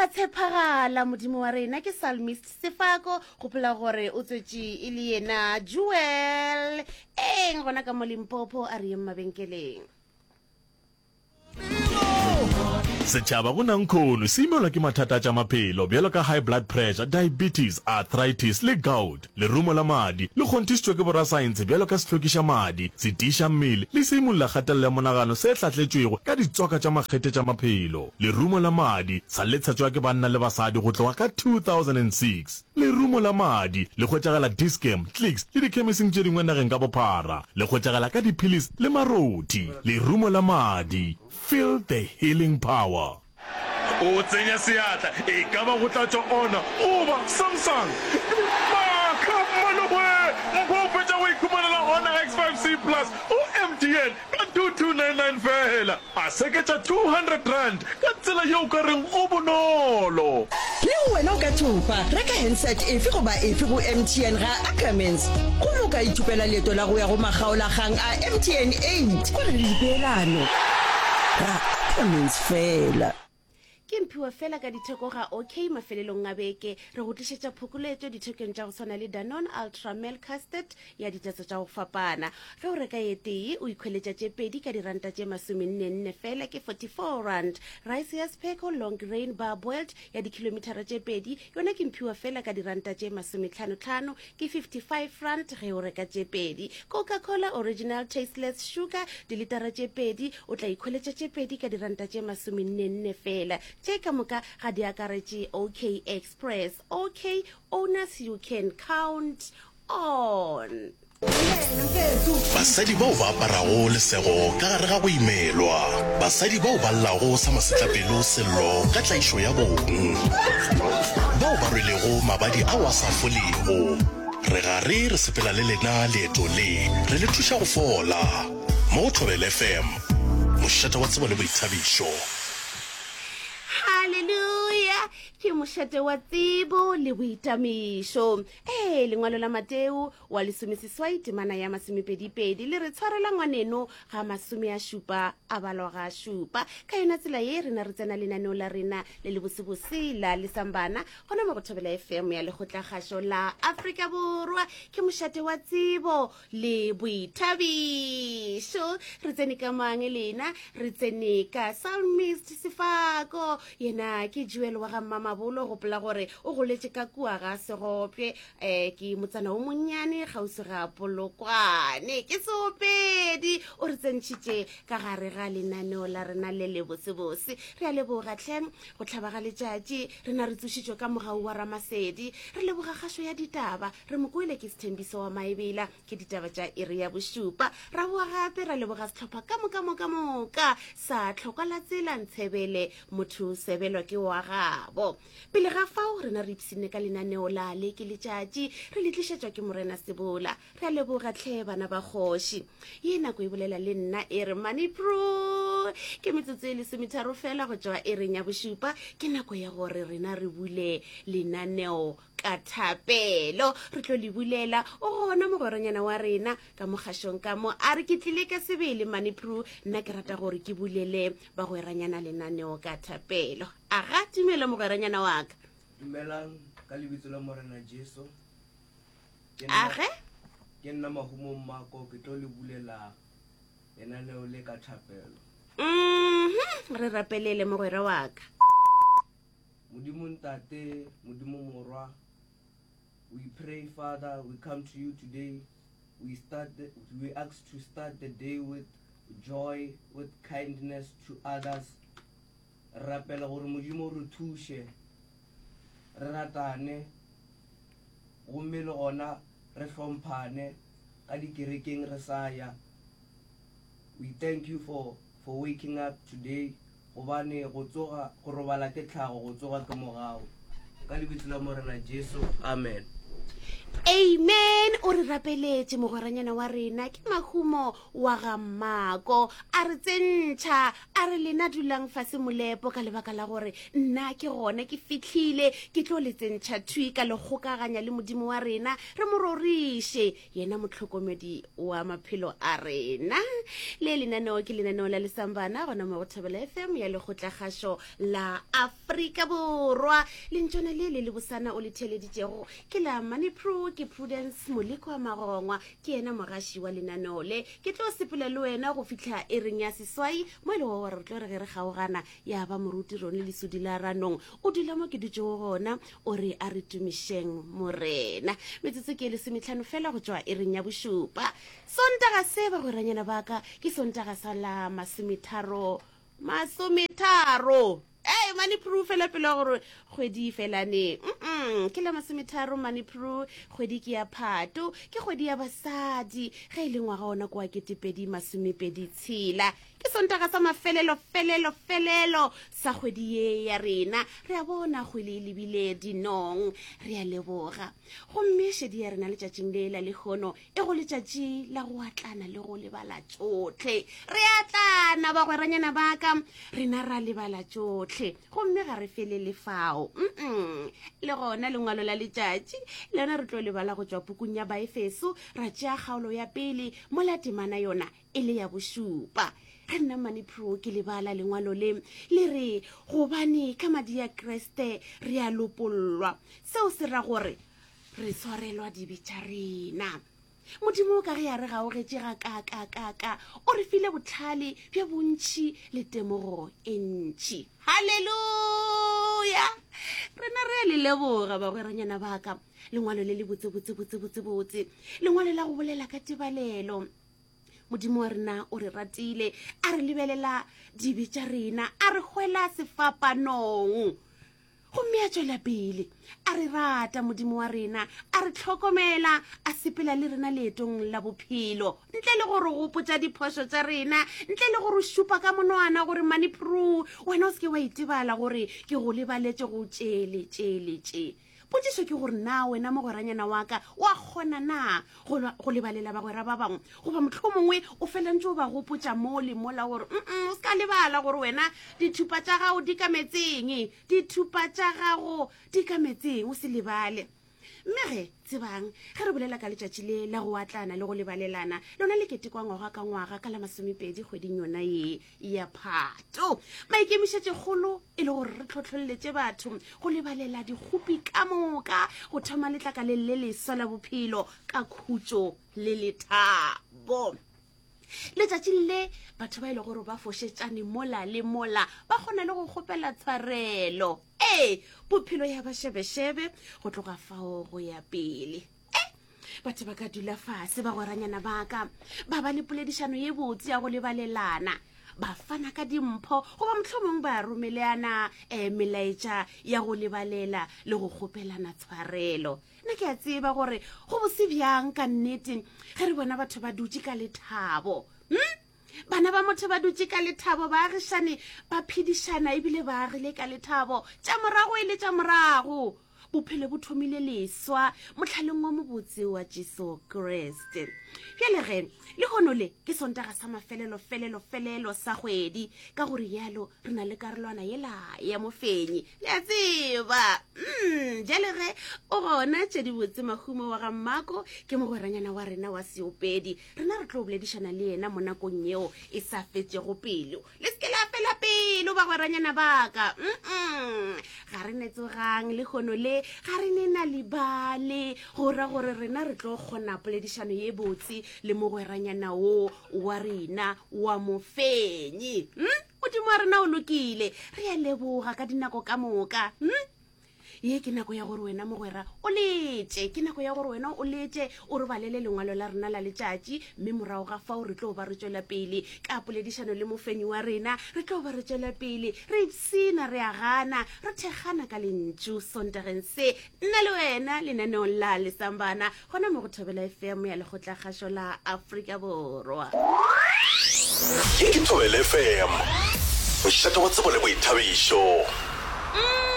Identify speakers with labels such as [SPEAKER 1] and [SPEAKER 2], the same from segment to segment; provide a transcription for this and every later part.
[SPEAKER 1] Wa tshepagala Modimo wa rena ke Psalmist Sefako gopola gore o tswetše e le yena Jewel eng gona ka mo Limpopo a re yeng mabenkeleng.
[SPEAKER 2] Setšhaba go nankhono se imelwa ke mathata a tša maphelo bjalo ka high blood pressure, diabetes, arthritis le gout. Lerumo la madi le kgonthišitšwe ke borasaense bjalo ka sehlokiša madi, setiiša mmele le seimolla kgatelelo ya monagano se hlahletšwego ka ditswaka tša makgethe tša maphelo. Lerumo la madi sa le tshetšwa ke banna le basadi go tloga ka 2006. Lerumo la madi le hwetšagala Dis-Chem, Clicks le dikhemising tše dingwe nageng ka bophara. Le hwetšagala ka diphilisi le marothi. Lerumo la madi, feel the healing power. O tsenya seatla, e ka ba go tla tšwa Honor goba Samsung. Maaka, mmalowe! Mpho o fetša go ikhumanela Honor X5C Plus go MTN ka 2299 feela. A seketša R200 ka tsela ye o ka reng go bonolo.
[SPEAKER 3] Le wena o ka thopa! Reka handset efe goba efe go MTN ga Ackermans gomme o ka ithopela leeto la go ya go makgaolakgang a MTN 8. Go na le dipeelano ga Ackermans feela.
[SPEAKER 1] Ke mphiwa fela ka ditheko ga OK mafelelong a beke. Re go tlišetša phokoletšo dithekong tša go swana le Danone Ultra Milk Custard ya ditatso tša go fapana. Ge o reka ye tee, o ikhweletša tše pedi ka diranta tše masomennenne fela, ke R44. Rice ya Spheko Long Grain Bar-boiled ya dikhilomithara tše pedi yona ke mphiwa fela ka diranta tše masometlhanotlhano, ke R55 ge o reka tše pedi. Coca-Cola Original Tasteless Sugar dilitara tše pedi o tla ikhweletša tše pedi ka diranta tše masomennenne fela. Tše ka moka ga di akaretše OK Express. OK Owners you can count on.
[SPEAKER 4] Basadi bao ba aparago lesego ka gare ga go imelwa. Basadi bao ba llago sa masetlapelo sello ka tlaišo ya bong. Bao ba rwelego mabadi ao a sa folego. Re gare re sepela le lena leeto le, re le thuša go fola. Mo go Thobela FM, mošate wa tsebo le boithabišo.
[SPEAKER 1] Haleluya! Ke mošate wa tsebo le boitamišo. Ee, lengwalo la Mateo wa lesomeseswai temana ya masomepedipedi le re tshwarela ngwaneno ga masome a šupa a balwa ga šupa. Ka yona tsela ye rena re tsena lenaneo la rena le le bosebose la Lesambana gona mo go Thobela FM ya Lekgotlakgašo la Afrika Borwa. Ke mošate wa tsebo le boithabišo. Re tsene ka mang lena? Re tsene ka Psalmist Sefako. Yena ke Joel wa ga Mmamabolo. Gopola gore o goletše ka kua ga Segopje, um ke motsana o monnyane kgauswi ga Polokwane. Ke seopedi. O re tsentšhitše ka gare ga lenaneo la rena le le botsebose. Re a leboga hle go hlaba ga letšatši. Rena re tsošitšwe ka mogau wa Ramasedi. Re leboga kgašo ya ditaba. Re mo kwele ke Sthembiso wa Maebela, ke ditaba tša iri ya bošupa. Ra boa gape ra leboga sehlopha ka moka moka moka sa Tlhokwa la Tsela Ntshebele, motho sebelwa ke wa gabo. Pele ga fao rena re ipshinne ka lenaneo la Le ke Letšatši, re le tlišetšwa ke Morena Sebola. Re a leboga tlhe bana ba kgoši. Ye nako e bolela le nna e re Money Pro. Ke metsotso e lesometharo fela go tšwa iring ya bošupa, ke nako ya gore rena re bule lenaneo ka thapelo. Re tlo le bulela o gona mogweranyana wa rena ka mogašong ka mo a re ke tlile ka sebele Money Pro, nna ke rata gore ke bulele bagweranyana lenaneo ka thapelo. Aga tumelo mogweranyana wa ka.
[SPEAKER 5] Dumelang ka lebitso la Morena Jesu. Ke nna-
[SPEAKER 1] Age
[SPEAKER 5] Ke nna Mahumo Mmako, ke tlo le bulela lenaneo le ka thapelo.
[SPEAKER 1] Mhm, re rapelele mogwera wa ka.
[SPEAKER 5] Modimo Ntate, Modimo Morwa, we pray Father, we come to you today. We start the, we ask to start the day with joy, with kindness to others. Re rapela gore Modimo re thuše, re ratane, gomme le gona re hlomphane ka dikerekeng re sa ya. We thank you for for waking up today gobane go tsoga go robala ke tlhago go tsoga ke mogau. Ka lebitso la Morena Jesu, amen.
[SPEAKER 1] Amen o re rapeletše mogweranyana wa rena ke mahumo wa ga mmako a re tsentšha a re lena dulang fase molepo ka lebaka la gore nna ke gona ke fihlile ke tlo le tsentšha thwi ka le kgokaganya le modimo wa rena re mo roriše yena mohlokomedi wa maphelo a rena. Le lenaneo ke lenaneo la Lesambana gona mo go Thobela FM ya Lekgotlakgašo la Afrika Borwa. Lentšwana le le lebosana o le theeleditšego ke la Manipro, ke Prudence Moleko wa Magongwa, ke yena mogaši wa lenaneo le. Ke tlo sepela le wena go fihla ereng ya seswai mo e lego gore re tlo re ge re kgaogana ya ba moruti Rone Lesodi la Ranong o dula mo ke dutšego gona o re a re tumišeng Morena. Metsotso ke e lesometlhano fela go tšwa iring ya bošupa. Sontaga se, bagweranyana ba ka, ke Sontaga sa la masometharo, masometharo. Ee, mane Prue fela pele wa gore kgwedi e fela neng. Mm-mm, ke la masometharo mane Prue, kgwedi ke ya Phato, ke kgwedi ya basadi, ge e le ngwaga ona ke wa ketepedi masomepedi tshela. Ke Sontaga sa mafelelo, felelo, felelo sa kgwedi ye ya rena. Re a bona kgwele e lebile dinong. Re a leboga. Gomme šedi ya rena letšatšing le la lehono e go letšatši la go atlana le go lebala tšohle. Re atlana, bagweranyana ba ka, rena ra lebala tšohle. Gomme ga re felele fao. Mm-mm. Le gona lengwalo la letšatši lona re tlo lebala go tšwa pukung ya Baefeso, ra tšea kgaolo ya pele mola temana yona e le ya bošupa. Ge nna Mane Pro ke lebala lengwalo le, le re, Gobane ka madi a Kriste re a lopollwa. Seo se ra gore re swarelwa dibe tša rena. Modimo ka ge a re gaogetše gakaakakaaka, o re file bohlale bjo bontši le temogo e ntši. Haleluya! Rena re a le leboga, bagweranyana ba ka. Lengwalo le le botse, botse, botse, botse, botse. Lengwalo la go bolela ka tebalelo. Modimo wa rena o re ratile, a re lebelela dibe tša rena, a re hwela sefapanong. Gomme a tšwela pele a re rata Modimo wa rena, a re hlokomela, a sepela le rena leetong la bophelo, ntle le go re gopotša diphošo tša rena, ntle le go re šupa ka monwana gore Manipru, wena o se ke wa itebala gore ke go lebaletše go tše le tše le tše. Potšišo ke gore na wena mogweranyana wa ka wa kgona na go, go lebalela bagwera ba bangwe goba mohlomongwe o fela ntse o ba gopotša mo le mola gore mm o se ka lebala gore wena dithupa tša gago di ka metseng, dithupa tša gago di ka metseng, o se lebale. Mme ge, tsebang, ge re bolela ka letšatši le la go atlana le go lebalelana, lona le ketekwa ngwaga ka ngwaga ka la masomepedi kgweding yona ye ya Phato. Maikemišetšokgolo e le gore re tlhotlholletše batho go lebalela dikgopi ka moka, go thoma letlakaleng le leswa la bophelo ka khutšo le lethabo. Letšatšing le batho ba e le gore ba fošetšane mola le mola ba kgona le go kgopela tshwarelo. Ee, bophelo ya ba šebešebe go tloga fao go ya pele. Batho ba ka dula fase, bagweranyana ba ka, ba ba le poledišano ye botse ya go lebalelana, ba fana ka dimpho goba mohlomong ba romeleana um melaetša ya go lebalela le go kgopelana tshwarelo. Nna ke a tseba gore go bose bjang ka nnete ge re bona batho ba dutše ka lethabo. Hm? Bana ba motho ba dutše ka lethabo, baagišane ba phedišana ebile ba agile ka lethabo, tša morago e le tša morago. Bophelo bo thomile leswa mohlaleng wa mobotse wa Jesu Kriste. Bjale ge, lehono le ke Sontaga sa mafelelo felelo felelo sa kgwedi, ka go rialo re na le karolwana yela ya mofenyi. Le a tseba. Mm, bjale ge o gona tše dibotse Mahumo wa ga Mmako ke mogweranyana wa rena wa seopedi. Rena re tlo boledišana le yena mo nakong yeo e sa fetšego pelo. Le se ke la fela pelo, bagweranyana ba ka. Mm-mm. Ga re ne tsogang lehono le, ga re ne na libale, go ra gore rena re tlo kgona poledišano ye botse le mogweranyana wo wa rena wa mofenyi. Mm? Modimo wa rena o lokile. Re a leboga ka dinako ka moka. Mm? Ye ke nako ya gore wena mogwera o letše, ke nako ya gore wena o letše o re balele lengwalo la rena la letšatši, mme morago ga fao re tlo ba re tšwela pele ka poledišano le mofenyi wa rena, re tlo ba re tšwela pele re ipshina, re agana, re thekgana ka lentšu Sontageng se, nna le wena lenaneong la Lesambana gona mo go Thobela FM ya Lekgotlakgašo la Afrika Borwa.
[SPEAKER 4] Ye ke Thobela FM, mošate wa tsebo le boithabišo.
[SPEAKER 1] Mhm.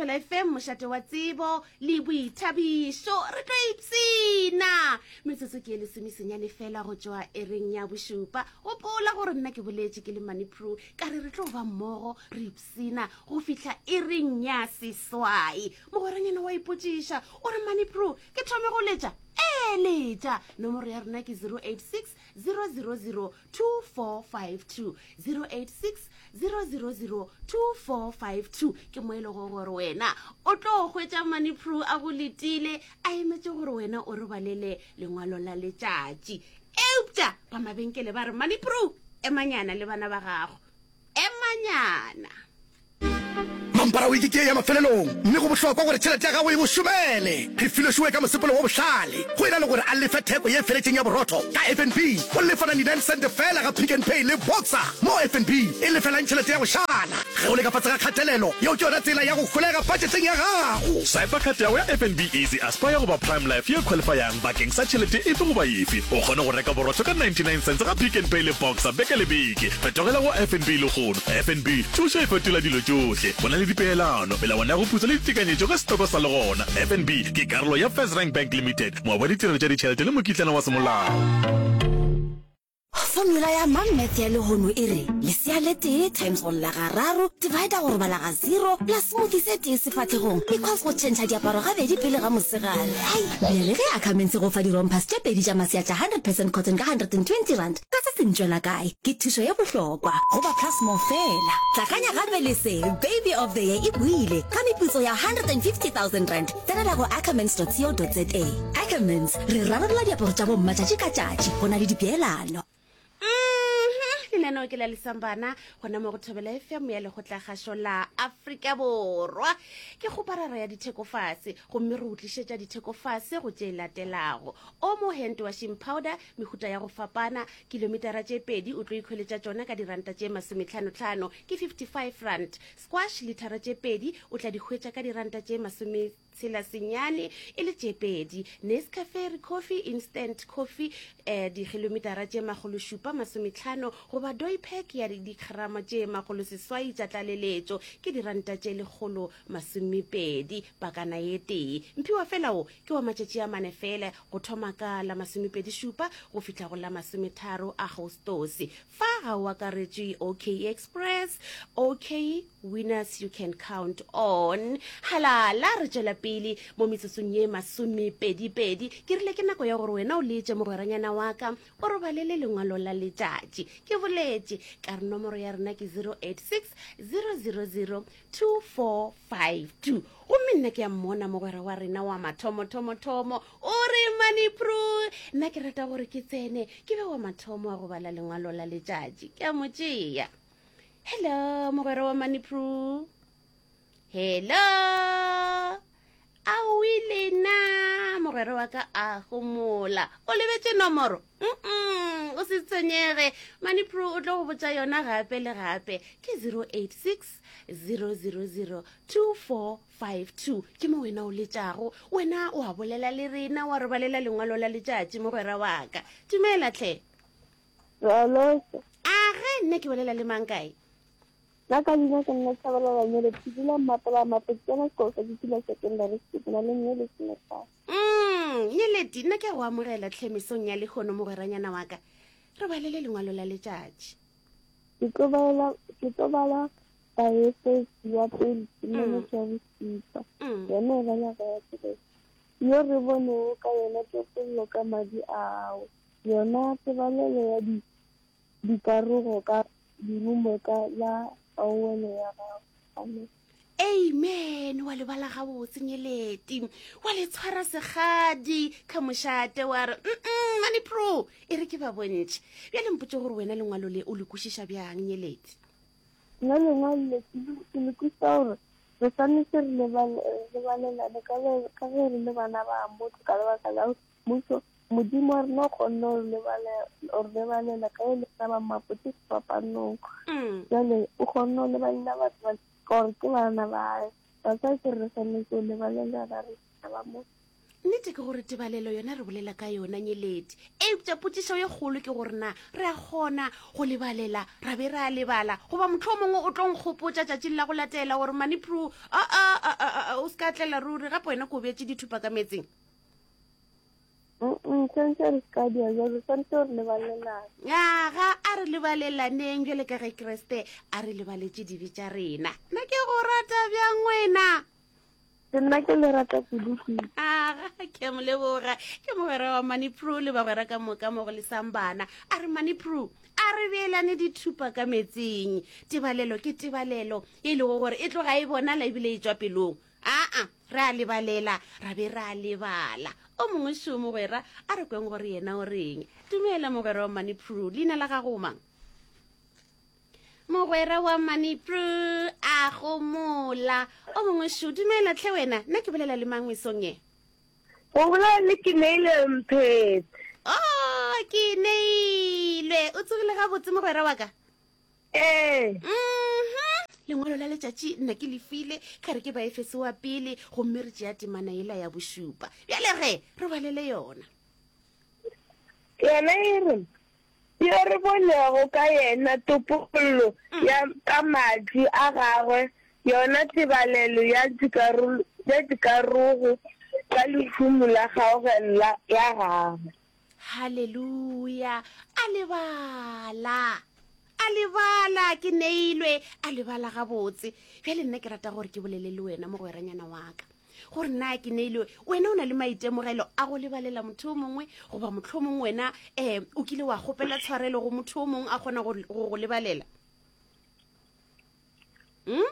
[SPEAKER 1] Thobela FM, mošate wa tsebo le boithabišo. Re tlo ipshina. Metsotso ke e lesomesenyane fela go tšwa ereng ya bošupa. Gopola gore nna ke boletše ke le Money Pro, ka re re tlo ba mmogo re ipshina go fihla ereng ya seswai. Mogweranyana wa ipotšiša o re Money Pro, ke thome go letša? Ee, letša. Nomoro ya rena ke 086 000 2452 086 000 2452 ke mo e lego gore wena o tlo hwetša manipro a go letile a emetše gore wena o re balele lengwalo la letšatši eupša ba mabenkele ba re manipro emanyana le bana ba gago emanyana
[SPEAKER 4] Mampara wiki ke ye ya mafelelong, mme go bohlokwa gore tšhelete ya gago e go šomele. Re filwe ka mosepelo wo bohlale. Go e na le gore a lefe theko ye feletšeng ya borotho ka FNB, o lefa 99 sente feela ga Pick n Pay le Boxer. Mo FNB e lefelang tšhelete ya go šala ge o le ka fase ga kgatelelo, yeo ke yona tsela ya go holega patšeteng ya gago.
[SPEAKER 2] Swipa card ya gago ya FNB Easy Aspire goba Prime Life ye qualifyang bakeng sa tšhelete efe goba efe. O kgone go reka borotho ka 99 cents ga Pick n Pay le Boxer beke le beke. Fetogela go FNB lehono. FNB, thušo e fetola dilo tšohle. Go na le dipeelano, melawana ya go putsa le ditekanyetšo ge setoko sa le gona. FNB ke karolo ya FirstRand Bank Limited, moabi wa ditirelo tša ditšhelete le mokitlana wa semolao.
[SPEAKER 6] Formula ya Mom Math ya lehono e re, lesea le tee times go lla gararo, divider go robala ga zero, plus smoothie se tee sefahlegong, equals go tšhentšha diaparo gabedi pele ga mosegare. Hai! Bjale ge Ackermans e go fa di-rompers tše pedi tša masea tša 100 percent cotton ka R120, ka se se ntšwela kae? Ke thušo ye bohlokwa go ba Plus More fela. Tlakanya gape le se, Baby of the Year e boile ka meputso ya R150 000. Tsenela go ackermans.co.za. Ackermans, re rarolla diaparo tša bomma tšatši ka tšatši. Go na le dipeelano.
[SPEAKER 1] Mhm, lenaneo ke la lesambana gona mo go thobela fm ya lekgotlakgašo la afrika borwa ke kgoparara ya dithekofase gomme re o tlišetša dithekofase go tše latelago omo hand washing powder Mehuta ya go fapana, kilometara tše pedi o tlo ikhweletša tšona ka diranta tše masometlhanotlhano, ke 55 rand. Squash lithara tše pedi o tla di hwetša ka diranta tše masometshela senyane e le tše pedi. Nescafe Recoffee Instant Coffee eh, dikilometara tše makgološupa masometlhano goba Doypack ya digrama tše makgoloseswai tša tlaleletšo ke diranta tše lekgolo masomepedi pakana ye tee. Mphiwa fela o Ke wa matšatši a mane fela, go thoma ka la masomepedi-šupa go fihla go la masometharo Agostose. Fa ga o akaretšwe OK Express, OK Winners you can count on. Halala, re tšwela pele mo metsotsong ye masomepedi-pedi. Ke rile ke nako ya gore wena o letše mogweranyana wa ka, o robalele lengwalo la letšatši. Ke boletše ka re nomoro ya rena ke 086 000 2452 gomme nna ke ya mmona mogwera wa rena wa mathomothomothomo o re manipro nna ke rata gore ke tsene ke be wa mathomo wa go bala lengwalo la letšatši ke a mo tšea hello mogwera wa manipro hello Aowi lena, mogwera wa ka a homola. O lebetše nomoro? Mm-mm, o se tshwenyege. Manipro o tlo go botša yona gape le gape. Ke 086 000 2452. Ke mo wena o letšago. Wena o a bolela le rena, wa re balela lengwalo la letšatši, mogwera wa ka. Dumela tlhe.
[SPEAKER 7] Ralosa.
[SPEAKER 1] Age, nna ke bolela le mang kae?
[SPEAKER 7] Nna ka leina ke nna Tshabalala Nyeleti, ke dula Mmapela Mapo, ke tsena sekolo sa Ditula Secondary School, ke na le mme lesometlhano.
[SPEAKER 1] Mm, Nyeleti, nna ke a go amogela tlhe mesong ya lehono mogweranyana wa ka. Re balele lengwalo la letšatši.
[SPEAKER 7] Ke tlo balela, ke tlo bala Baefesi ya pele temana mm. ya bosupa. Mm. Yona e bala ga ya Kriste. Yo re bonego ka yona topollo ka madi ao, yona tebalelo ya di dikarogo ka Dirumo ka la kgaogelo ya gago. Amen.
[SPEAKER 1] Amen wa lebala gabotse nyeleti wa le tshwara segadi ka mošate wa re mm mane pro e re ke ba bontšhe bjale mpotse gore wena lengwalo le o le kwešiša bjang nyeleti
[SPEAKER 7] Nna lengwalo le ke le kwešiša gore re swanetše re lebalelane ka ge re le bana ba motho ka lebaka la Mmušo, Modimo wa rena o kgonne go re lebalela ka e le rena ba mapotse sefapanong. Mm. Jale o kgonne go lebalela batho ba ka gore ke bana ba gae. That's why ke re re swanetše go lebalela ba re ba motho.
[SPEAKER 1] Nnete ke gore tebalelo yona re bolela ka yona nyeleti. Eupša potšišo ye kgolo ke gore na re a kgona go lebalela ra be ra lebala goba mohlomongwe o tlo nkgopotša tšatšing la go latela gore Manipru a a a a a o se ka tlela ruri gape wena ko beetše dithupa ka meetseng.
[SPEAKER 7] Mm, santse re se ka dia jalo santse re lebalelane.
[SPEAKER 1] Aga a re lebalelaneng bjale ka ge Kriste a re lebaletše dibe tša rena. Nna ke go rata bjang wena?
[SPEAKER 7] Ke nna ke le rata kudu-kudu.
[SPEAKER 1] Aga, ke a mo leboga. Ke mogwera wa Manipru le bagwera ka moka mo go lesang bana. A re Manipru, a re beelane dithupa ka metsing. Tebalelo ke tebalelo e lego gore e tloga e bonala ebile e tšwa pelong. Aa, re a lebalela, ra be ra lebala. O mongwe šo mogwera, a re kweng gore yena o reng. Dumela mogwera wa Manipru, leina la gago o mang? Mogwera wa Manipru a gomola. O mongwe šo, dumela tlhe wena. Nna ke bolela le mang mesong ye?
[SPEAKER 7] O bolela le Keneilwe Mphete.
[SPEAKER 1] Oh, Keneilwe. O tsogile gabotse mogwera wa ka?
[SPEAKER 7] Ee.
[SPEAKER 1] Mhm. Lengwalo la letšatši nna ke le file, ka re ke Baefese wa pele, gomme re tšea temana yela ya bošupa. Bjale ge, re balele yona.
[SPEAKER 7] Yona e re, Yo re bonego ka yena topollo ya ka madi a gagwe, yona tebalelo ya ya dikarogo ka lehumo la kgaogelo ya gagwe.
[SPEAKER 1] Haleluya! A lebala, a lebala, ke neilwe, a lebala gabotse. Bjale nna ke rata gore ke bolele le wena, mogweranyana wa ka. Gore na ke neilwe, wena o na le maitemogelo a go lebalela motho o mongwe, goba mohlomong wena um o kile wa kgopela tshwarelo go motho o mongwe a kgona go go lebalela? Hmm?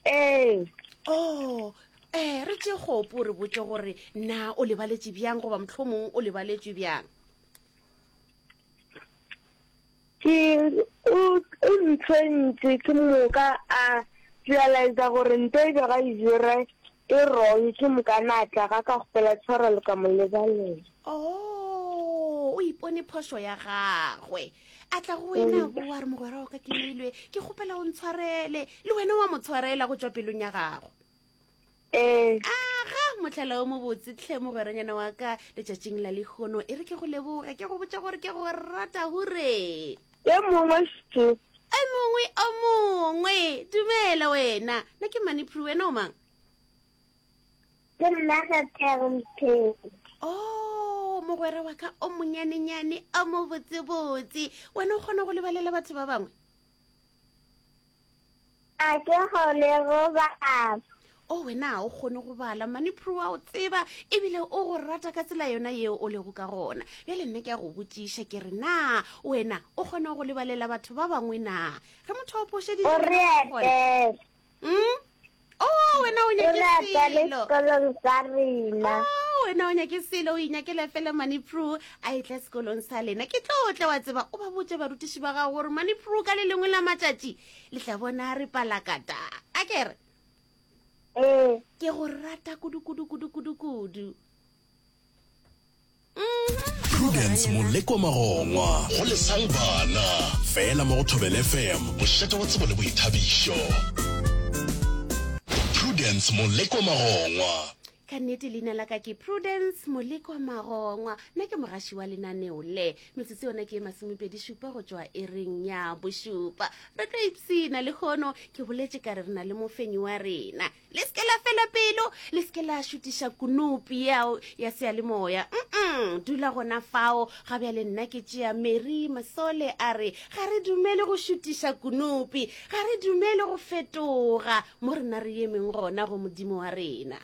[SPEAKER 7] Ee.
[SPEAKER 1] Oh, eh, re tše kgopo re botše gore na o lebaletše bjang goba mohlomong o lebaletšwe bjang.
[SPEAKER 7] Ke o o ntshwentše ke moka a realiza gore nto e bego a e dira e wrong ke moka na tla ga ka kgopela tshwarelo ka mo lebalela.
[SPEAKER 1] Oh, o ipone phošo ya gagwe. A tla go wena bo a re mogwera wa ka ke neilwe ke kgopela o ntshwarele le wena wa mo tshwarela go tšwa pelong ya gago.
[SPEAKER 7] Ee.
[SPEAKER 1] Aga, mohlala o mobotse tlhe mogweranyana wa ka letšatšing la lehono. E re ke go leboge, ke go botša gore ke go rata hure.
[SPEAKER 7] E mongwe še.
[SPEAKER 1] E mongwe o mongwe. Dumela wena. Nna ke Manipru, wena o mang?
[SPEAKER 7] Ke nna Katlego Mpheti.
[SPEAKER 1] Oh, mogwera wa ka o monyanenyane o mobotsebotse. Wena o kgona go lebalela batho ba bangwe?
[SPEAKER 7] A ke kgone go bala.
[SPEAKER 1] O wena ga o kgone go bala, Manipro wa o tseba ebile o go rata ka tsela yona yeo o lego ka gona. Bjale nna ke a go botšiša ke re na wena o kgona go lebalela batho ba bangwe na? Ge motho a phošeditše
[SPEAKER 7] O re etele.
[SPEAKER 1] Mm? Oh, wena o
[SPEAKER 7] O
[SPEAKER 1] nyake
[SPEAKER 7] re etele
[SPEAKER 1] selo.
[SPEAKER 7] sekolong sa rena.
[SPEAKER 1] Oh, wena o nyake selo o inyakela fela Manipro a etla sekolong sa lena. Ke tlo tla wa tseba o ba botše barutiši ba gago gore Manipro ka le lengwe la matšatši le tla bona re palakata. A ke re
[SPEAKER 7] Ee.
[SPEAKER 1] ke go rata kudu kudu kudu kudu kudu.
[SPEAKER 4] Prudence Molekwa Magongwa go Lesang Bana fela mo go Thobela FM mošate wa tsebo le boithabišo. Prudence Molekwa Magongwa.
[SPEAKER 1] Ka nnete leina la ka ke Prudence Molekwa Magongwa nna ke mogaši wa lenaneo le. Metsotso yona ke e masomepedi šupa go tšwa ereng ya bošupa. Re tlo ipshina lehono ke boletše ka re re na le mofenyi wa rena. Le se ke la fela pelo, le se ke la šutiša kunupi yao ya seyalemoya. Mm-mm, dula gona fao. Ga bjale nna ke tšea Mary Masole a re, ga re dumele go šutiša kunupi, ga re dumele go fetoga mo rena re emeng gona go Modimo wa rena.